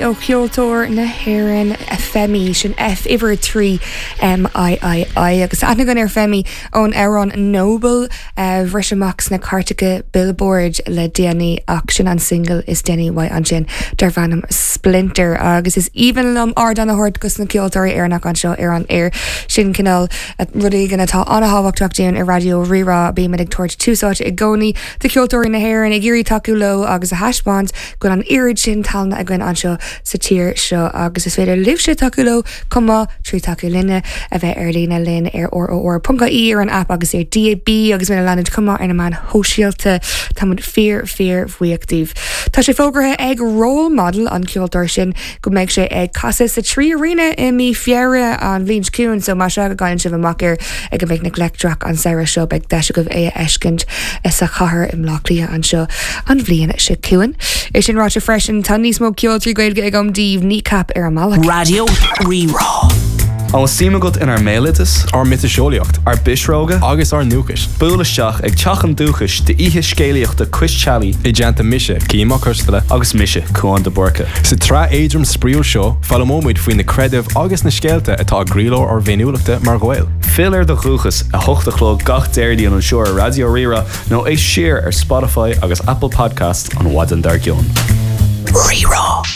Ó cheoltóir na hÉireann Femii, sin F uimhir 3 M I I I, agus aithne againn ar Femii ón amhrán Noble a bhris amach sna cairteacha Billboard le déanaí ach sin an single is déanaí uaidh ansin darb ainm Splinter agus is aoibhinn liom ardán a thabhairt dos na ceoltóirí Éireannacha anseo ar an aer. Sin cineál rud éigin atá an-thábhachtach dúinn i Raidió Rí-Rá, bímid ag tabhairt tús áite i gcónaí do cheoltóirí na hÉireann, ag iarraidh tacú leo agus a thaispeáint go bhfuil an oiread sin tallann againn anseo sa tír seo agus is féidir libhse tacú leo chomh maith trí tacú linne, a bheith ar líne linn ar ror.ie, ar an aip agus ar DAB agus muid a leanúint chomh maith ar na meáin shóisialta. Tá muid fíor fíor bhuíoch díbh. Tá sé fógartha ag Role Model, an ceoltóir sin, go mbeidh sé ag casadh sa 3 Arena i mí Feabhra an bhliain seo chugainn so más ea go gcailleann sibh amach air ag an bPicnic Leictreach an samhradh seo beidh deis agaibh é a fheiscint sa chathair i mBleá Cliath anseo an bhliain seo chugainn. É sin ráite freisin tá níos mó ceol 3 Gaeilge agam daoibh, Kneecap ar an mbealach. Raidió Rí-Rá. An bhfuil suim agat inár mbéaloideas? Ár miotaseolaíocht? Ár bpisreoga? Agus ár ndúchais? Buail isteach ag Teach an Dúchais d'oíche scéalaíochta Cois Teallaigh. I dteannta mise, Cian Mac Coisteala. Agus mise, Cúán de Búrca. Sa tsraith éadrom spraíúil seo, foghlaimeoidh muid faoi na creidimh agus na scéalta atá i gcroílár ár bhféiniúlachta mar Ghaeil. Fill ar do dhúchas, 8 a chlog gach Déardaoin anseo ar Raidió Rí-Rá nó éist siar ar Spotify agus Apple Podcasts an mhaidin dár gcionn. Rí-Rá.